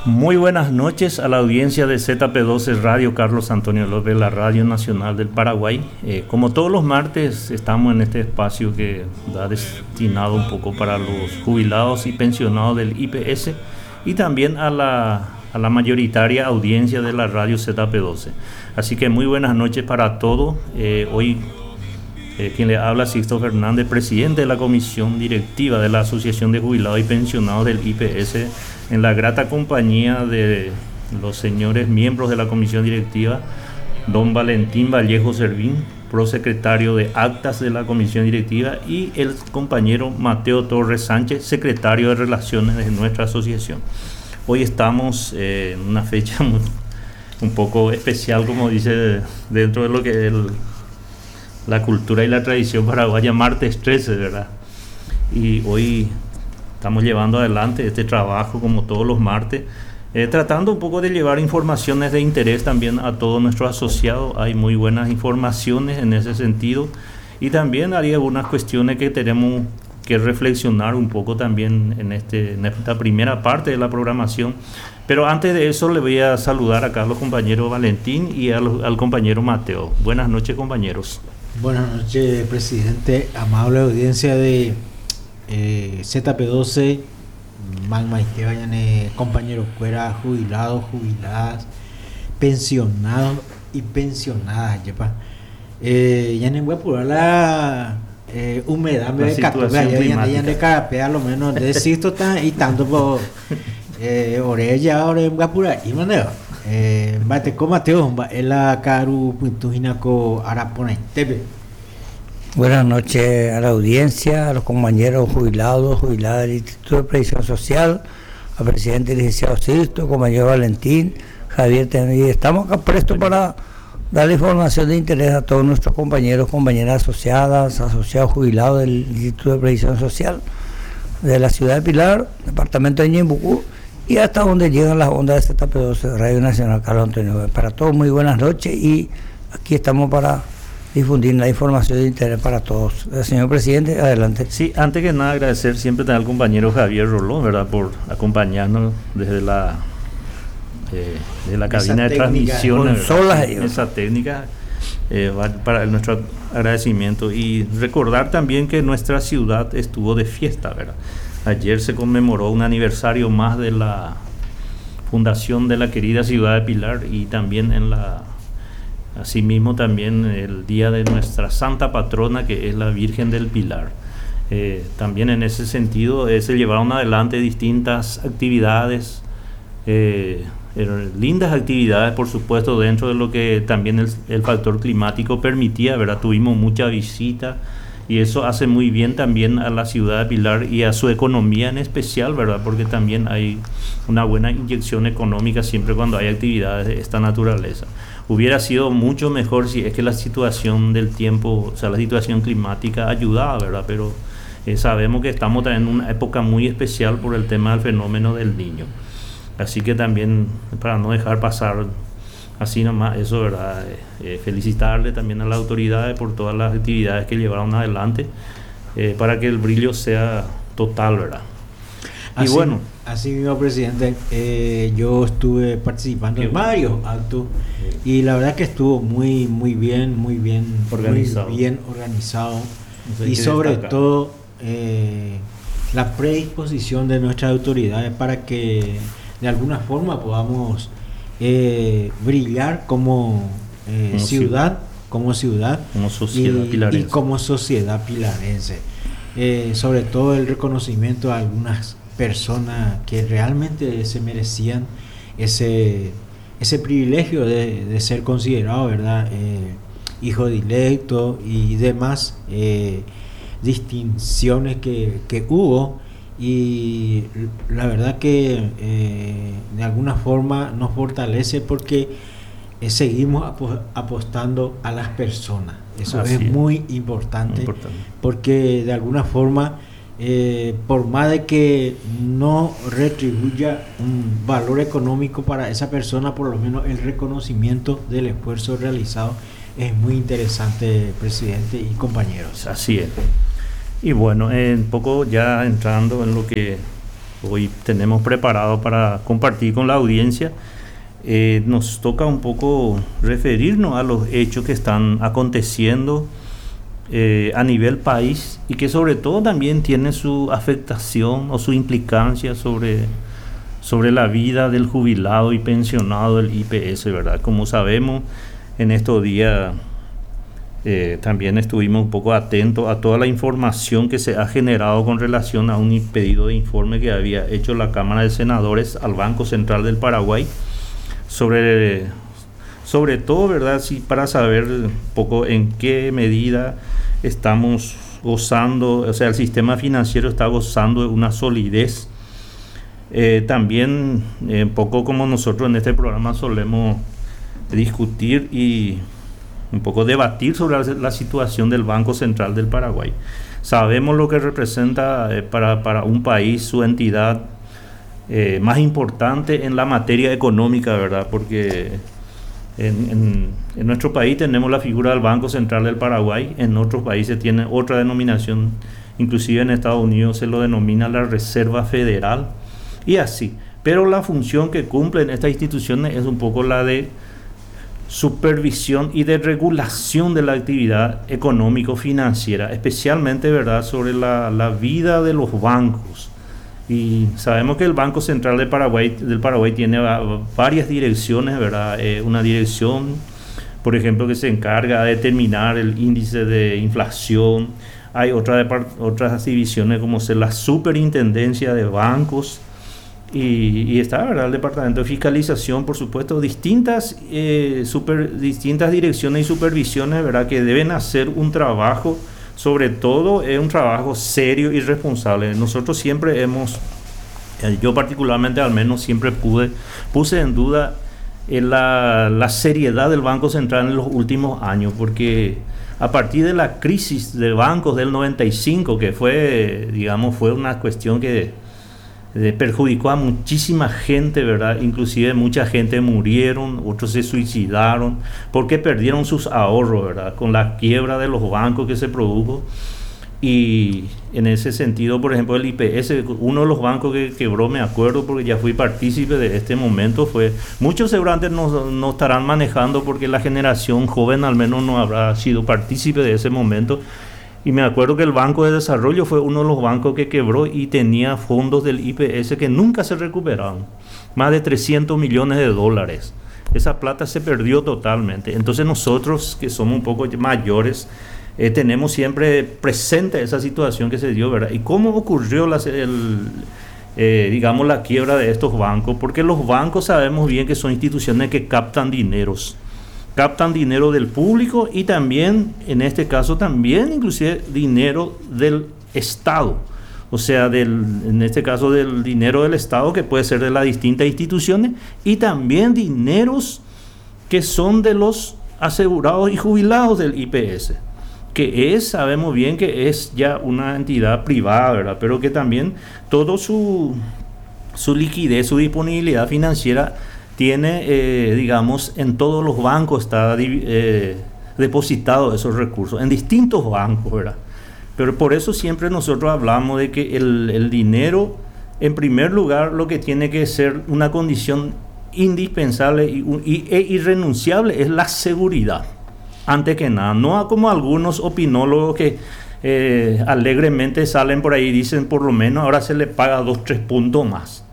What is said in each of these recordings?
Muy buenas noches a la audiencia de ZP12 Radio Carlos Antonio López, la Radio Nacional del Paraguay. Eh, como todos los martes estamos en este espacio que da destinado un poco para los jubilados y pensionados del IPS y también a la, a la mayoritaria audiencia de la radio ZP12. Así que muy buenas noches para todos. Eh, hoy eh, quien le habla, Sixto Fernández, presidente de la comisión directiva de la Asociación de Jubilados y Pensionados del IPS, en la grata compañía de los señores miembros de la comisión directiva, don Valentín Vallejo Servín, prosecretario de Actas de la comisión directiva, y el compañero Mateo Torres Sánchez, secretario de Relaciones de nuestra asociación. Hoy estamos eh, en una fecha un poco especial, como dice, dentro de lo que es la cultura y la tradición paraguaya, martes 13, ¿verdad? Y hoy estamos llevando adelante este trabajo como todos los martes, eh, tratando un poco de llevar informaciones de interés también a todos nuestros asociados. Hay muy buenas informaciones en ese sentido y también hay algunas cuestiones que tenemos que reflexionar un poco también en, este, en esta primera parte de la programación. Pero antes de eso le voy a saludar acá a los compañeros Valentín y al, al compañero Mateo. Buenas noches, compañeros. Buenas noches, presidente. Amable audiencia de eh, ZP12, Magma y compañeros fuera, jubilados, jubiladas, pensionados y pensionadas. Yepa. Eh, ya no voy a apurar la eh, humedad, me ya, ya de carapea, lo menos de Sisto y tanto por eh, orella, ore voy a apurar. Y mandeo. Eh, bate ko Mateo, la karu puntuhina ko araponaitepe. Buenas noches a la audiencia, a los compañeros jubilados, jubiladas del Instituto de Previsión Social, al presidente licenciado Sisto, compañero Valentín, Javier Tenedi. Estamos acá prestos para darle información de interés a todos nuestros compañeros, compañeras asociadas, asociados jubilados del Instituto de Previsión Social de la ciudad de Pilar, departamento de Ñeembucú, y hasta donde llegan las ondas de ZP12 Radio Nacional Carlos Antonio. Para todos, muy buenas noches y aquí estamos para difundir la información de interés para todos. Eh, señor presidente, adelante. Sí, antes que nada agradecer siempre al compañero Javier Rolón, ¿verdad?, por acompañarnos desde la, eh, de la cabina de transmisión. Consolas, esa técnica, eh, para nuestro agradecimiento. Y recordar también que nuestra ciudad estuvo de fiesta, ¿verdad? Ayer se conmemoró un aniversario más de la fundación de la querida ciudad de Pilar y también en la asimismo también el día de nuestra santa patrona, que es la Virgen del Pilar. Eh, también en ese sentido eh, se llevaron adelante distintas actividades, eh, lindas actividades, por supuesto, dentro de lo que también el, el factor climático permitía, ¿verdad? Tuvimos mucha visita y eso hace muy bien también a la ciudad de Pilar y a su economía en especial, ¿verdad? Porque también hay una buena inyección económica siempre cuando hay actividades de esta naturaleza. Hubiera sido mucho mejor si es que la situación del tiempo, o sea, la situación climática ayudaba, ¿verdad? Pero eh, sabemos que estamos también en una época muy especial por el tema del fenómeno del niño. Así que también, para no dejar pasar así nomás eso, ¿verdad? Eh, eh, felicitarle también a las autoridades por todas las actividades que llevaron adelante para que el brillo sea total, ¿verdad? Y bueno. Así mismo, presidente, yo estuve participando en varios actos y la verdad que estuvo muy, muy bien, muy bien organizado. Muy bien organizado. Y sobre destacar todo la predisposición de nuestras autoridades para que de alguna forma podamos brillar como, eh, como ciudad, como ciudad, como sociedad y, pilarense. Y como sociedad pilarense. Eh, sobre todo el reconocimiento a algunas personas que realmente se merecían ese, ese privilegio de, de ser considerado, ¿verdad? Eh, hijo dilecto y demás eh, distinciones que, que hubo. Y la verdad que eh, de alguna forma nos fortalece porque eh, seguimos apostando a las personas. Eso es, es muy importante, importante, porque de alguna forma, eh, por más de que no retribuya un valor económico para esa persona, por lo menos el reconocimiento del esfuerzo realizado es muy interesante, presidente y compañeros. Así es. Y bueno, un poco ya entrando en lo que hoy tenemos preparado para compartir con la audiencia, eh, nos toca un poco referirnos a los hechos que están aconteciendo eh, a nivel país y que sobre todo también tiene su afectación o su implicancia sobre, sobre la vida del jubilado y pensionado del IPS, ¿verdad? Como sabemos, en estos días eh, también estuvimos un poco atentos a toda la información que se ha generado con relación a un pedido de informe que había hecho la Cámara de Senadores al Banco Central del Paraguay sobre, sobre todo, ¿verdad? Sí, para saber un poco en qué medida estamos gozando, o sea, el sistema financiero está gozando de una solidez. Eh, también, eh, un poco como nosotros en este programa solemos discutir y un poco debatir sobre la, situación del Banco Central del Paraguay. Sabemos lo que representa eh, para, para, un país su entidad eh, más importante en la materia económica, ¿verdad? Porque en, en, nuestro país tenemos la figura del Banco Central del Paraguay, en otros países tiene otra denominación, inclusive en Estados Unidos se lo denomina la Reserva Federal y así. Pero la función que cumplen estas instituciones es un poco la de supervisión y de regulación de la actividad económico-financiera, especialmente ¿verdad? sobre la, la, vida de los bancos. Y sabemos que el Banco Central de Paraguay, del Paraguay tiene varias direcciones, ¿verdad? Eh, una dirección, por ejemplo, que se encarga de determinar el índice de inflación. Hay otra otras divisiones como ser la superintendencia de bancos, y, está, ¿verdad? El Departamento de Fiscalización, por supuesto, distintas, eh, super, distintas direcciones y supervisiones, ¿verdad? Que deben hacer un trabajo, sobre todo es un trabajo serio y responsable. Nosotros siempre hemos, eh, yo particularmente al menos siempre pude, puse en duda eh, la, la seriedad del Banco Central en los últimos años, porque a partir de la crisis de bancos del 95, que fue, digamos, fue una cuestión que perjudicó a muchísima gente, ¿verdad? Inclusive mucha gente murieron, otros se suicidaron, porque perdieron sus ahorros, ¿verdad? Con la quiebra de los bancos que se produjo. Y en ese sentido, por ejemplo, el IPS, uno de los bancos que quebró, me acuerdo, porque ya fui partícipe de este momento, fue, muchos seguramente no, no estarán manejando porque la generación joven al menos no habrá sido partícipe de ese momento. Y me acuerdo que el Banco de Desarrollo fue uno de los bancos que quebró y tenía fondos del IPS que nunca se recuperaron. Más de 300 millones de dólares. Esa plata se perdió totalmente. Entonces nosotros, que somos un poco mayores, eh, tenemos siempre presente esa situación que se dio, ¿verdad? ¿Y cómo ocurrió la, el, eh, digamos, la quiebra de estos bancos? Porque los bancos sabemos bien que son instituciones que captan dineros. Captan dinero del público y también, en este caso, también inclusive dinero del Estado. O sea, del, en este caso del dinero del Estado, que puede ser de las distintas instituciones, y también dineros que son de los asegurados y jubilados del IPS, que es, sabemos bien que es ya una entidad privada, ¿verdad? Pero que también todo su, su liquidez, su disponibilidad financiera tiene, eh, digamos, en todos los bancos está eh, depositado esos recursos, en distintos bancos, ¿verdad? Pero por eso siempre nosotros hablamos de que el, el dinero, en primer lugar, lo que tiene que ser una condición indispensable y, y, e irrenunciable es la seguridad, antes que nada. No como algunos opinólogos que eh, alegremente salen por ahí y dicen por lo menos ahora se le paga 2, 3 puntos más.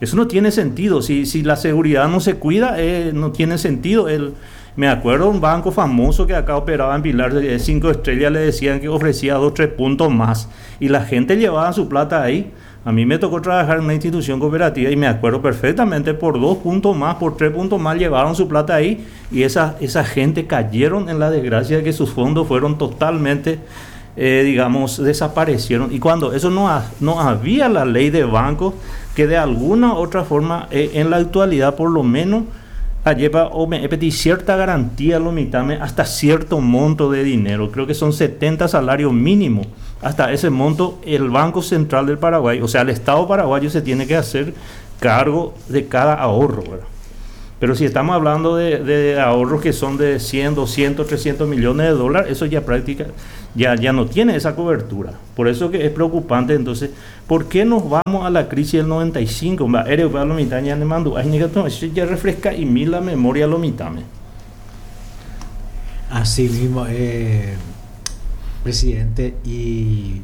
Eso no tiene sentido. Si, si la seguridad no se cuida, eh, no tiene sentido. El, me acuerdo un banco famoso que acá operaba en Pilar de 5 estrellas, le decían que ofrecía 2, 3 puntos más. Y la gente llevaba su plata ahí. A mí me tocó trabajar en una institución cooperativa y me acuerdo perfectamente, por 2 puntos más, por 3 puntos más llevaron su plata ahí y esa, esa gente cayeron en la desgracia de que sus fondos fueron totalmente, eh, digamos, desaparecieron. Y cuando eso no, ha, no había la ley de bancos que de alguna u otra forma, eh, en la actualidad por lo menos, lleva o me pedí cierta garantía lo mitame hasta cierto monto de dinero, creo que son 70 salarios mínimos. Hasta ese monto el Banco Central del Paraguay, o sea, el Estado paraguayo se tiene que hacer cargo de cada ahorro, ¿verdad? Pero si estamos hablando de ahorros que son de 100, 200, 300 millones de dólares, eso ya práctica, ya, ya no tiene esa cobertura. Por eso que es preocupante. Entonces, ¿por qué nos vamos a la crisis del 95? Ya refresca y mi la memoria lo mitame. Así mismo, presidente, y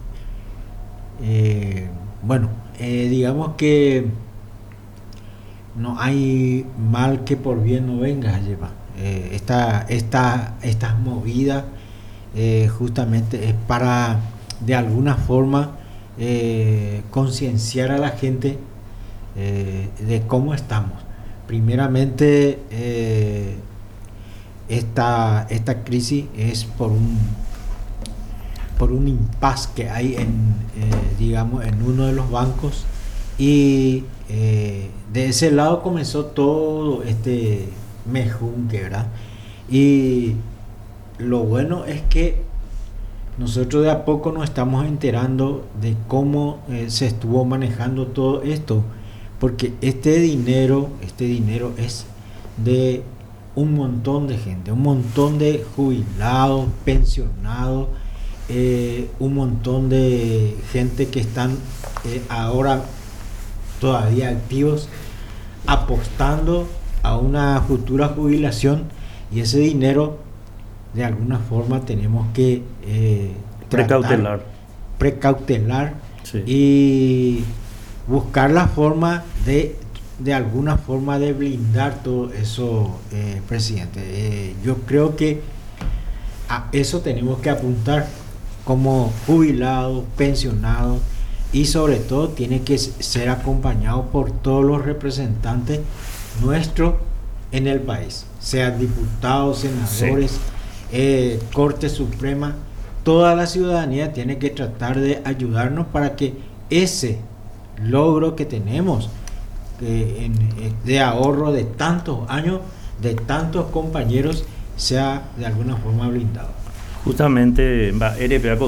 bueno, digamos que no hay mal que por bien no venga, lleva. Estas movidas justamente es para de alguna forma concienciar a la gente de cómo estamos. Primeramente, esta crisis es por un impasse que hay en, digamos, en uno de los bancos, y de ese lado comenzó todo este mejunque, ¿verdad? Y lo bueno es que nosotros de a poco nos estamos enterando de cómo se estuvo manejando todo esto, porque este dinero es de un montón de gente, un montón de jubilados, pensionados, un montón de gente que están ahora todavía activos, apostando a una futura jubilación, y ese dinero de alguna forma tenemos que precautelar, sí, y buscar la forma de alguna forma de blindar todo eso, presidente. Yo creo que a eso tenemos que apuntar como jubilados, pensionados, y sobre todo tiene que ser acompañado por todos los representantes nuestros en el país, sean diputados, senadores, sí, Corte Suprema. Toda la ciudadanía tiene que tratar de ayudarnos para que ese logro que tenemos de ahorro de tantos años, de tantos compañeros, sea de alguna forma blindado. Justamente,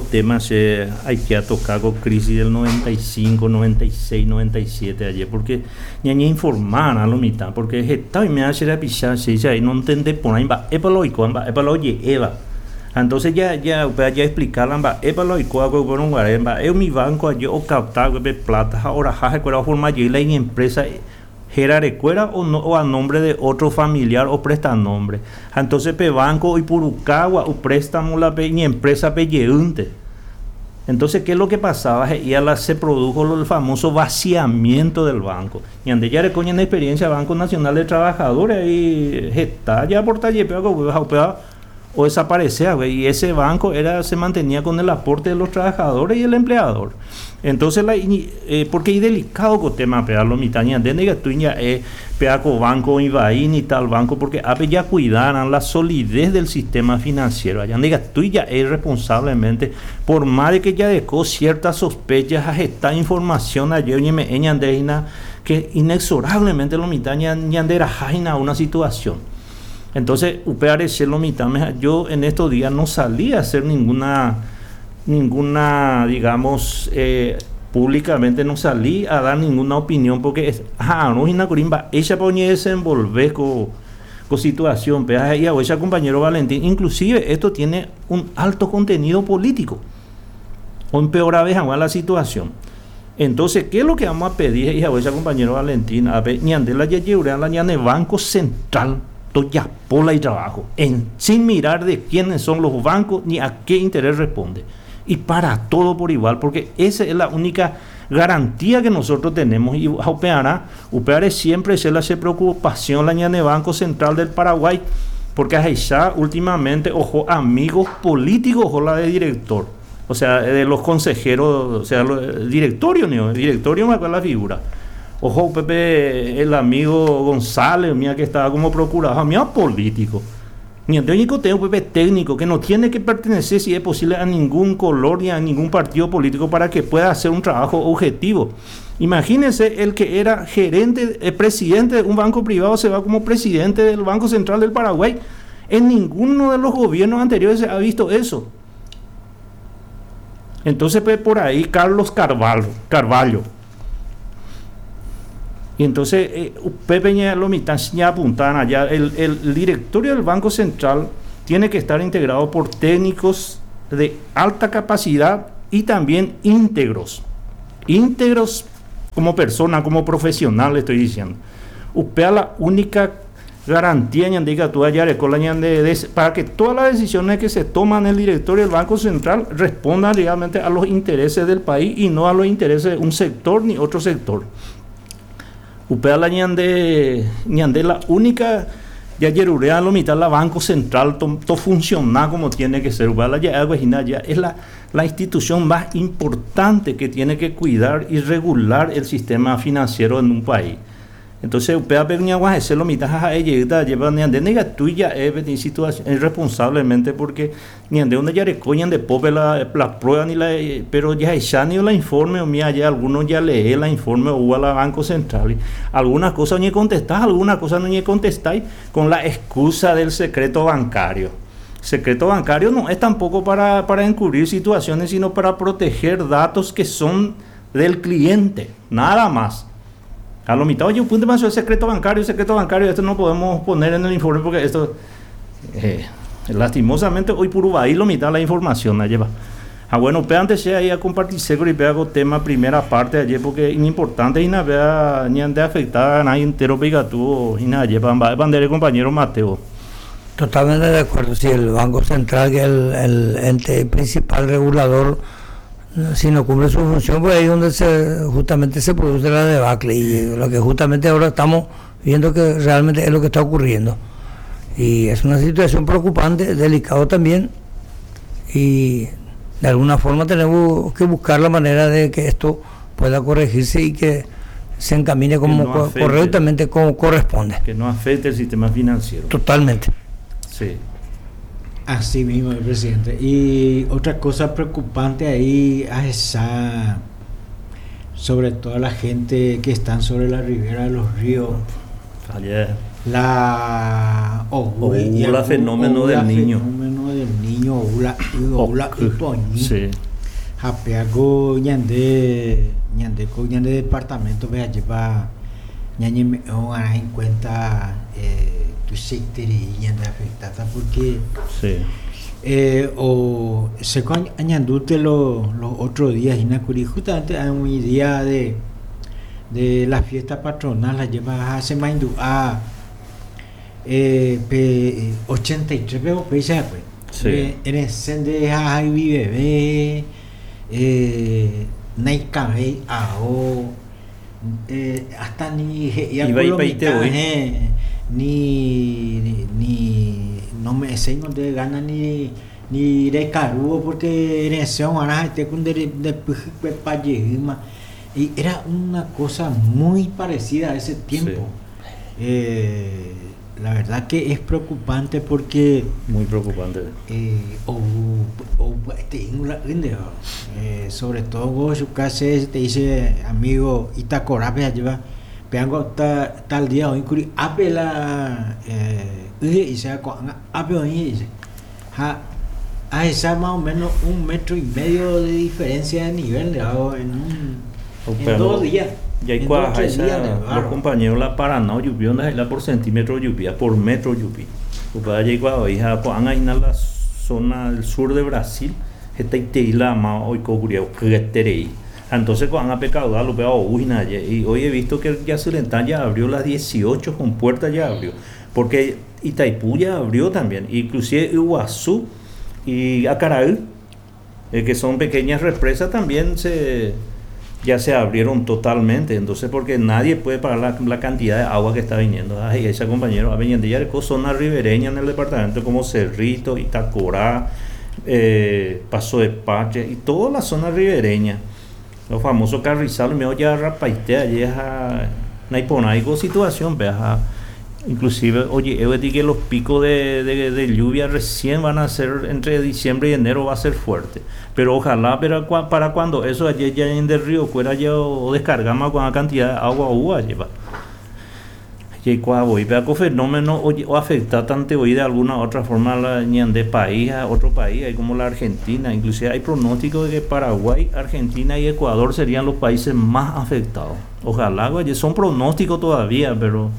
tema se hay que tocar con crisis del 95, 96, 97 ayer, porque ñaña informar a lo mitad, porque está y me hace la pisar, se dice ahí no entende por ahí, va, epa lo va, epa lo eva. Entonces ya explicarla, va, epa lo ico, va, es mi banco, yo captar plata, ahora jaje, cuál forma yo la empresa Jerarecuera o, no, o a nombre de otro familiar o presta nombre. Entonces pe banco y Purucagua o préstamo la pe ni empresa pe yeunte. Entonces, ¿qué es lo que pasaba? Y a la se produjo el famoso vaciamiento del banco. Y ande ya recoñen experiencia Banco Nacional de Trabajadores y está ya por talle o desaparecía, y ese banco era, se mantenía con el aporte de los trabajadores y el empleador. Entonces, porque es delicado con tema, lo mitaña, de que tú ya peaco banco Ibaín y tal banco, porque ape ya cuidaran la solidez del sistema financiero. Allá diga tú ya es responsablemente, por más de que ya dejó ciertas sospechas a esta información ayer que inexorablemente lo mitaña ñandera jaina una situación. Entonces, UPRC lo mitad, yo en estos días no salí a hacer ninguna, digamos, públicamente no salí a dar ninguna opinión, porque es, no, ella pone desenvolver con situación, pero y a ella, compañero Valentín, inclusive esto tiene un alto contenido político, o empeora vez la situación. Entonces, ¿qué es lo que vamos a pedir, hija, ella, compañero Valentín? A ver, ñandela ya la ñane Banco Central ya pola y trabajo, sin mirar de quiénes son los bancos ni a qué interés responde. Y para todo por igual, porque esa es la única garantía que nosotros tenemos. Y UPR siempre se le hace preocupación la ñane Banco Central del Paraguay, porque allá últimamente, ojo, amigos políticos, ojo, la de director, o sea, de los consejeros, o sea, el directorio, ¿no? El directorio me acuerdo la figura. Ojo, Pepe, el amigo González, mía que estaba como procurador, mía político. Ni único tengo Pepe técnico que no tiene que pertenecer, si es posible, a ningún color ni a ningún partido político para que pueda hacer un trabajo objetivo. Imagínense, el que era gerente, el presidente de un banco privado se va como presidente del Banco Central del Paraguay. En ninguno de los gobiernos anteriores se ha visto eso. Entonces, pues, por ahí, Carlos Carvalho. Y entonces, upepe ña lo mitã ñaapunta allá, el directorio del Banco Central tiene que estar integrado por técnicos de alta capacidad y también íntegros. Íntegros como persona, como profesional, estoy diciendo. Upéa la única garantía ñande ikatu ajareko la ñande para que todas las decisiones que se toman en el directorio del Banco Central respondan realmente a los intereses del país y no a los intereses de un sector ni otro sector. Upéa la ñande ñande la única jajerurea lo mitad la Banco Central to, to funciona como tiene que ser. Upéa la ya ya es la institución más importante que tiene que cuidar y regular el sistema financiero en un país. Entonces, upévape ñaguahese lo mitã ha ha'e jeýta ajépa ñande ndaikatúi ja'e peteĩ situación irresponsablemente porque ñande donde jareko ñande pópe la, la prueba ni la, pero jahecha ni la informe umi aje algunos ya lee la informe oúva la Banco Central algunas cosas oñecontesta algunas cosas no oñecontestái con la excusa del secreto bancario. Secreto bancario no es tampoco para encubrir situaciones, sino para proteger datos que son del cliente, nada más. A lo mitad, oye, un punto más el secreto bancario, esto no podemos poner en el informe porque esto, lastimosamente, hoy por ahí lo mitad la información la lleva. Ah, bueno, pero antes se ahí a compartir seguro y pega tema primera parte ayer porque es importante y nada, vea, ni ande afectada a nadie entero pega tú y nada, lleva bandera compañero Mateo. Totalmente de acuerdo, si el Banco Central, que es el ente principal regulador, si no cumple su función, pues ahí es donde justamente se produce la debacle y lo que justamente ahora estamos viendo que realmente es lo que está ocurriendo. Y es una situación preocupante, delicado también, y de alguna forma tenemos que buscar la manera de que esto pueda corregirse y que se encamine como Que no afecte. correctamente como corresponde. Que no afecte el sistema financiero. Totalmente. Sí. Así mismo, presidente. Y otra cosa preocupante ahí es esa, sobre todo la gente que están sobre la ribera de los ríos. Ayer. La Oula, y algún fenómeno oula del niño. Fenómeno del niño, oula, oula, Ok. ipoñi. Sí. Japeaco, ñande, ñande, co, ñande departamento, vea, lleva, ñañe, me, oh, en cuenta, tu sector y ñande afectada porque, Sí. o se con añandute los otros días, y nacuri, justamente hay un día de la fiesta patronal, la lleva a Semaindu, a pe, 83, pero pe, se fue. Sí. En el sende de Javi bebé, Naikabei, Ao, hasta ni je, y Iba y Apolo peite mitad, hoy. ni, ni, ni, no me sé dónde gana ni de carugo porque en ese momento este con de, de, de, de, pa, yehima. Y era una cosa muy parecida a ese tiempo. Sí. La verdad que es preocupante porque Muy preocupante. O, o, este, la, ¿entiendes? Sobre todo vos, su casa te dice amigo Itacorape lleva peango tal día hoy curi ape la y se ape hoy dice ja, a esa más o menos un metro y medio de diferencia de nivel de agua en un, O en pero 2 días. Y ahí En cuaja dos, tres esa, días de los barro. compañeros la Paraná lluvia, onda la por centímetro lluvia, por metro lluvia. Upa allá igual, hija, pues, han ahí en la zona del sur de Brasil, esta iteila más hoy cocuria, que terei. Entonces, cuando han pecado, lo veo, uy, nadie. Y hoy he visto que ya Yacyretá ya abrió las 18 con puerta ya abrió. Porque Itaipú ya abrió también, inclusive Iguazú y Acaraí, que son pequeñas represas, también ya se abrieron totalmente. Entonces, porque nadie puede parar la cantidad de agua que está viniendo. Ay, ese compañero, a venir de Yarco, zona ribereña en el departamento como Cerrito, Itacorá, Paso de Pache y toda la zona ribereña. Los famosos carrizales, me oye a Rapaite, allí es a Naiponaico situación, veas a, inclusive, oye, yo digo que los picos de lluvia recién van a ser entre diciembre y enero, va a ser fuerte. Pero ojalá, pero para cuando eso allí ya en el río fuera ya o descargamos con la cantidad de agua uva lleva. Y cuando voy, vea que fenómeno oye, o afecta tanto hoy de alguna otra forma a la ñande país, a otro país, hay como la Argentina, inclusive hay pronóstico de que Paraguay, Argentina y Ecuador serían los países más afectados. Ojalá, son pronósticos todavía, pero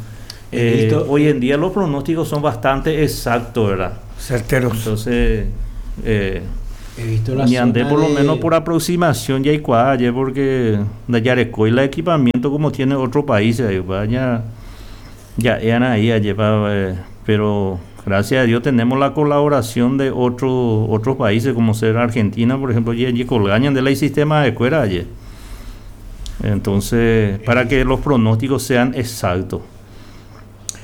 hoy en día los pronósticos son bastante exactos, ¿verdad? Certeros. Entonces, He visto la ñande zona por lo menos de por aproximación ya hay cuadra, porque de Yarecoy el equipamiento como tiene otro país, ahí, va, ya, ya eran ahí, allá, va pero gracias a Dios tenemos la colaboración de otros países como ser Argentina, por ejemplo, ya, ya colgañan de la sistema de cuera allí. Entonces, para que los pronósticos sean exactos.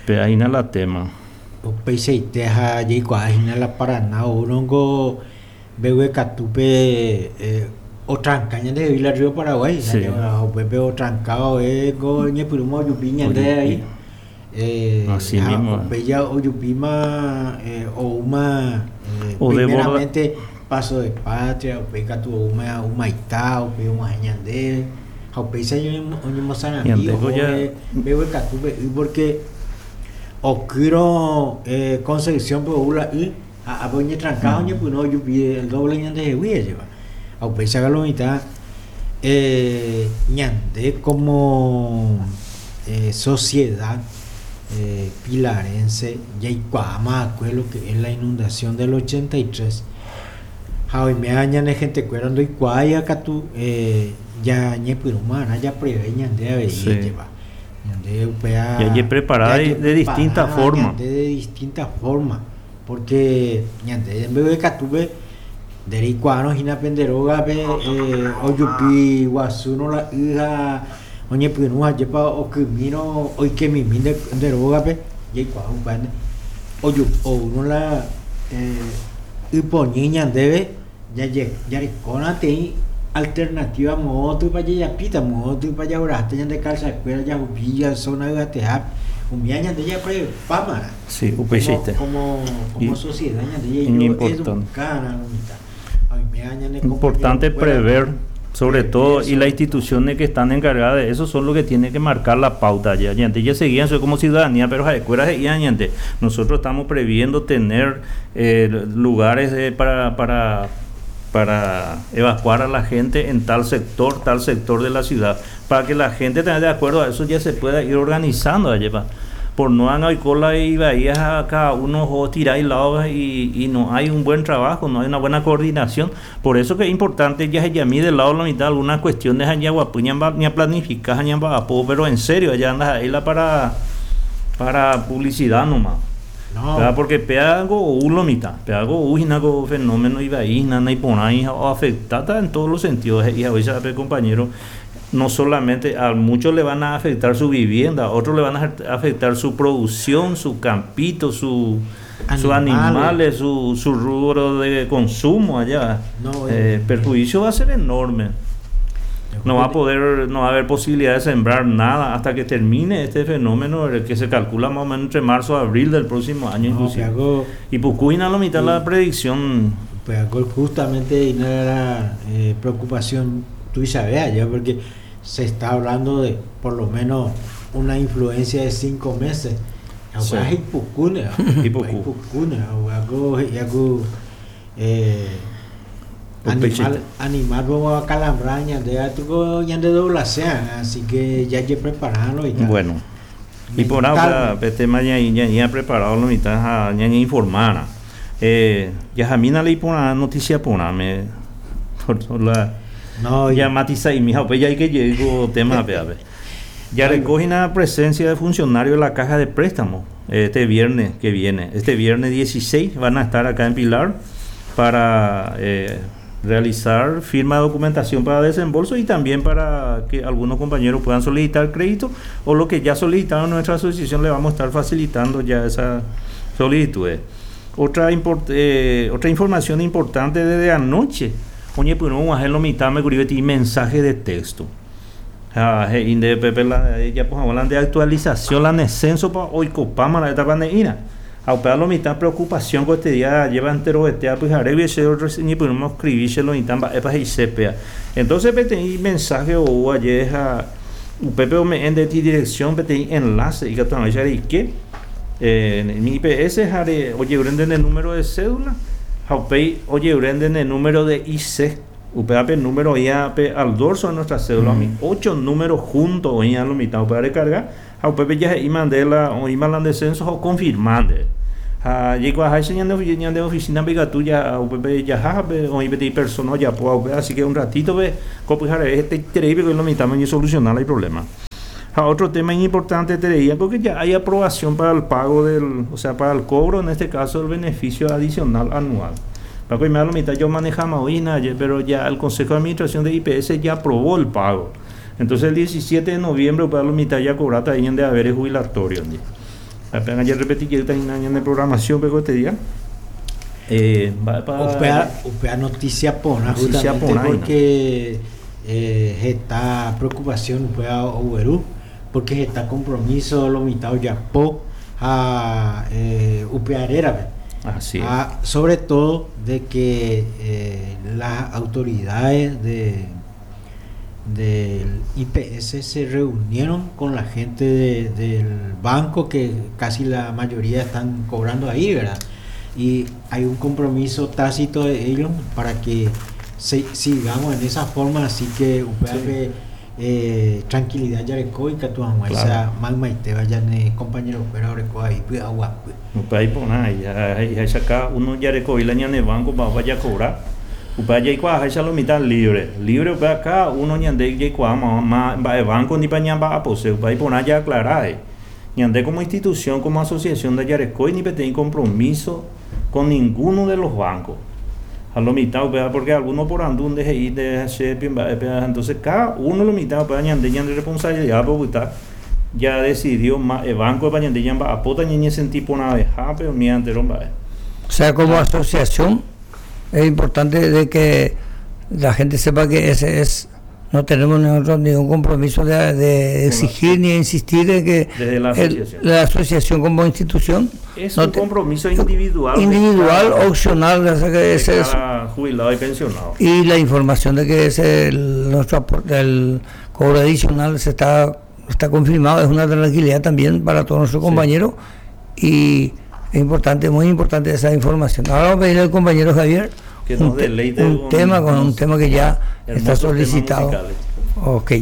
Pero ahí no la tema. Upeichaite ha jaikuaahína la Paraná oúrõngo mbeguekatúpe otranca ñandehegui la río Paraguay. Sí. Upépe otranca oéko ñepyrũma ojupi ñande Ojupi. ahí. Así Ha mismo. upéi ojupíma oúma O desborda- primeramente Paso de Patria, upéi katu oúma Humaitá, upéi og̃uahẽ ñande, ha upéicha oñemosarambi Ñande ko ya- ohóve mbeguekatúpe y porque okýrõ Concepción-pe ou la y ha ápe oñetranca ha oñepyrũ ojupi el doble ñandehegui ajépa. Ha upéicha lo mitã ñande como sociedad pilarense jaikuaáma akue lo que es la inundación del 83. Ha oiméva ñane gentekuéra ndoikuaái katu ya ñepyrũmarã japreve ñande avei Sí. ajépa. Ñande upéa Ya jepreparada de distinta jajeprepará forma. ñande de distinta forma, porque ñande mbeguekatúpe ndereikuaárõ hína pende rógape ojupi guasúrõ la y ha oñepyrũ ajépa okymírõ oikemimi nde rógape jaikuaa upéva oúrõ la ypoñy ñandéve jarekórõ teĩ alternativa moõtypa jajapíta, moõtypa jagueraháta ñande calzakuéra jahupi zona yvatehápe umíva ñande japrepámarã. Sí, upeichaite. Como Y sociedad ñande importante. educarã lo mitad. Oiméva ñane Importante compañerokuéra prever, sobre prever todo, y eso. las instituciones que están encargadas de eso son los que tienen que marcar la pauta ya. Ya antes ya seguían eso como ciudadanía, pero escuelas seguían ya antes. Nosotros estamos previendo tener lugares para evacuar a la gente en tal sector de la ciudad, para que la gente tenga de acuerdo a eso ya se pueda ir organizando allá, pa. Por no andar cola y bahías a cada uno o tirar y lado y no hay un buen trabajo, no hay una buena coordinación. Por eso que es importante ya se llamí del lado de la mitad algunas cuestiones allá guapuña, ni a planificar, ni a po, pero en serio, allá andas ahí la para publicidad nomás. No. ¿Verdad? Porque pega algo o lo mitad, pega algo o algo fenómeno y bahía, nana y por ahí, o afectada en todos los sentidos. Y a veces, compañero, no solamente a muchos le van a afectar su vivienda, a otros le van a afectar su producción, su campito, sus Animales. animales, su rubro de consumo allá. No, Perjuicio va a ser enorme. No va a poder, no va a haber posibilidad de sembrar nada hasta que termine este fenómeno, el que se calcula más o menos entre marzo a abril del próximo año, No, inclusive. que hago Y Pucuina la mitad de la Sí. predicción. Pues hago justamente y no era preocupación tú y sabes allá, porque se está hablando de por lo menos una influencia de 5 meses. Sí. Agua es Ipucuna, Ipucu. Ipucuna, agua es, agua, Un pechito. animal vamos a calambrar, ñande, a tu, ñande dobla sea, así que ya hay que prepararlo y tal. Bueno, y por ahora, Mental. este tema ya, ya, ya preparado lo mitad, ya, ya informara. Ya a mí no leí por una noticia por una, me, por, por la, No, ya y matiza y mija, pues ya hay que llego tema, ve, a ver. Ya Ay, recogen la presencia de funcionarios de la caja de préstamo este viernes que viene. Este viernes 16 van a estar acá en Pilar para realizar firma de documentación para desembolso y también para que algunos compañeros puedan solicitar crédito o lo que ya solicitaron nuestra asociación le vamos a estar facilitando ya esas solicitudes. Otra información importante desde anoche. Oye, pues no, a lo mitad me curioso y mensaje de texto. Ah, je, inde, pepe, la, ya, pues, hablan de actualización, la descenso pa hoy copama la etapa de ira. A lo mitad preocupación con este día lleva entero este, pues, haré y ese otro, ni pues, no escribirse lo mitad, va, epa, y sepea. Entonces, pe, tení mensaje o ayer, ja, u pepe, o me en de ti dirección, pe, tení enlace, y que tu amiga, ¿y qué? En mi IPS, jare, oye, urenden el número de cédula, jaupei, oye, urenden el número de IC. Upéva pe número oĩva pe al dorso de nuestra cédula, umi ocho número junto oĩva lo mitã upéva recarga, ha upépe jahe'íma nde la oĩma la nde censo ha oconfirma nde. Ha jaikuaaháicha ñande ñande oficina-pe ikatu ja upépe jaha ha pe oĩ peteĩ persona ojapóva upéva, así que un ratito-pe ko pyhareve hetaitereípe ko lo mitãme oñesoluciona la iproblema. Ha otro tema iñimportanteterei porque ya hay aprobación para el pago del, o sea, para el cobro, en este caso, del beneficio adicional anual. Paco y lo mitad yo manejamos hoy, nadie, pero ya el Consejo de Administración de IPS ya aprobó el pago. Entonces el 17 de noviembre, para la mitad ya cobrata ahí de haberes jubilatorios. Apenas ya repetí que está en de programación, pero este día. Eh, va pa upéa noticia porã justamente porque eh, heta preocupación upéa ogueru porque heta compromiso lo mitã ojapo ha eh, upéa rérape. Así es. Ha sobre todo de que eh, las autoridades de del IPS se reunieron con la gente de, del banco que casi la mayoría están cobrando ahí, ¿verdad? Y hay un compromiso tácito de ellos para que se, sigamos en esa forma, así que upévape sí. eh, tranquilidad jareko ikatu hag̃uáicha maymaite ñane compañero-kuéra oreko ahí py'aguapy. Upéva iporã, he'iháicha cada uno jarekovi la ñane banco mba'épa jakobra, upéva jaikuaaháicha lo mitã libre, libre upéva cada uno ñande jaikuaa mba'e banco ndipa ñamba'apose, upéva iporã jaaclara he'i. Ñande como institución, como asociación ndajarekói ni peteĩ compromiso con ninguno de los bancos. Ha lo mitã upéva porque alguno oporandu nde he'i nde che mba'épe, entonces cada uno lo mitã upéva ñande ñande responsabilidad-pe opyta jadecidió mba'e banco-pa ñande ñamba'apóta ñañesenti porãvehápe umi entero mba'e. O sea, como asociación es importante de que la gente sepa que ese es no tenemos nosotros ningún compromiso de, de exigir ni insistir en que Desde la asociación. El, la asociación como institución es no un compromiso individual individual cada, opcional o sea que ese es jubilado y pensionado y la información de que es el, nuestro aporte el cobro adicional se está está confirmado es una tranquilidad también para todos nuestros sí. compañeros y es importante muy importante esa información ahora vamos a pedirle al compañero Javier que nos deleite un, un tema con un tema que ya está solicitado. Ok.